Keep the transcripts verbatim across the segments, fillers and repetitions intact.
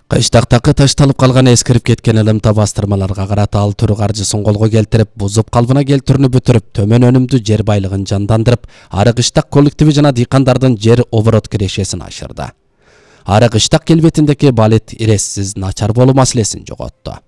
Кыштактакы ташталып калган эскирип кеткен ылымта бастырмаларга карата ал түрү каржысын колго келтирип, бузуп калыбына келтүүнү бүтүрүп, төмөн өнүмдүү жер байлыгын жандандырып, ары кыштак коллективи жана дыйкандардын жер оборот кирешесин ашырды. Ары кыштак келбетиндеги балет ирессиз начар болуу маселесин жоготту.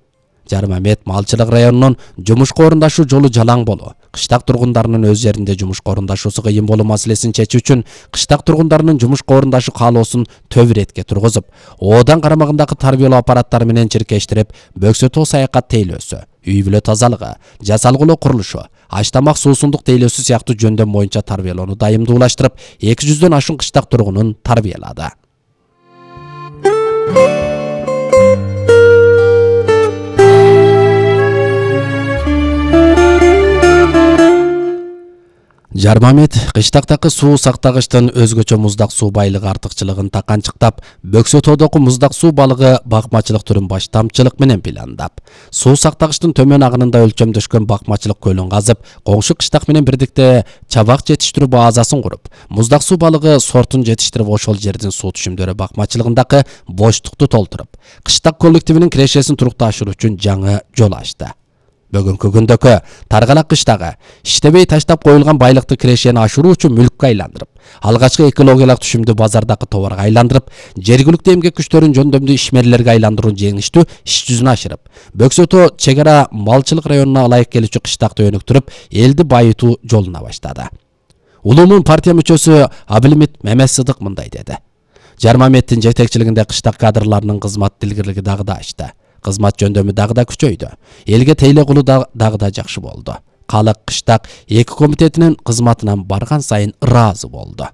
Жармамет малчылык районунун жумушка орундашуу жолу жалаң болуу, кыштак тургундарынын өз жеринде жумушка орундашуусу кыйын болуу маселесин чечүү үчүн кыштак тургундарынын жумушка орундашуу каалоосун төп иретке тургузуп, оодан карамагындагы тарбиялоо аппараттары менен чиркештирип, бөксөтөө саякат тейлөөсү, үй бүлө тазалыгы, жасалгылоо курулушу, аш тамак суусундук тейлөөсү сыяктуу жөндөм боюнча тарбиялоону дайымдуулаштырып, эки жүздөн ашуун кыштак тургунун тарбиялады. Жармамет кыштактакы суу сактагычтын өзгөчө муздак суу байлыгы артыкчылыгын таканчыктап, бөксөтөөдөгү муздак суу балыгы бакмачылык түрүн баштамчылык менен пландап, суу сактагычтын төмөн агынында өлчөмдөшкөн бакмачылык көлүн казып, коңшу кыштак менен бирдикте чабак жетиштирүү базасын куруп, муздак суу балыгы сортун жетиштирип, ошол жердин суу түшүмдөрү бакмачылыгындагы боштукту толтуруп, кыштак коллективинин кирешесин турукташыруу үчүн жаңы жол ачты. Бүгүнкү күндөгү Таргалак кыштагы иштебей таштап коюлган байлыкты кирешени ашыруу үчүн мүлккө айландырып, алгачкы экологиялык түшүмдү базардагы товарга айландырып, жергиликтүү эмгек күчтөрүн жөндөмдүү ишмерлерге айландыруу жеңиштүү иш жүзүнө ашырып, Бөксөтөө чек ара малчылык районуна ылайык келүүчү кыштакты өнүктүрүп, элди байытуу жолуна баштады. Улуумун партия мүчөсү Абилимит Мемесыдык мындай деди. Жармаметтин жетекчилигинде кыштак кадрларынын кызмат илгирлиги дагы да ачты. Кызмат жөндөмү дагы да күчөйдү. Элге тейле кылуу дагы да жакшы болду. Калык кыштак эки комитетинин кызматынан барган сайын ыраазы болду.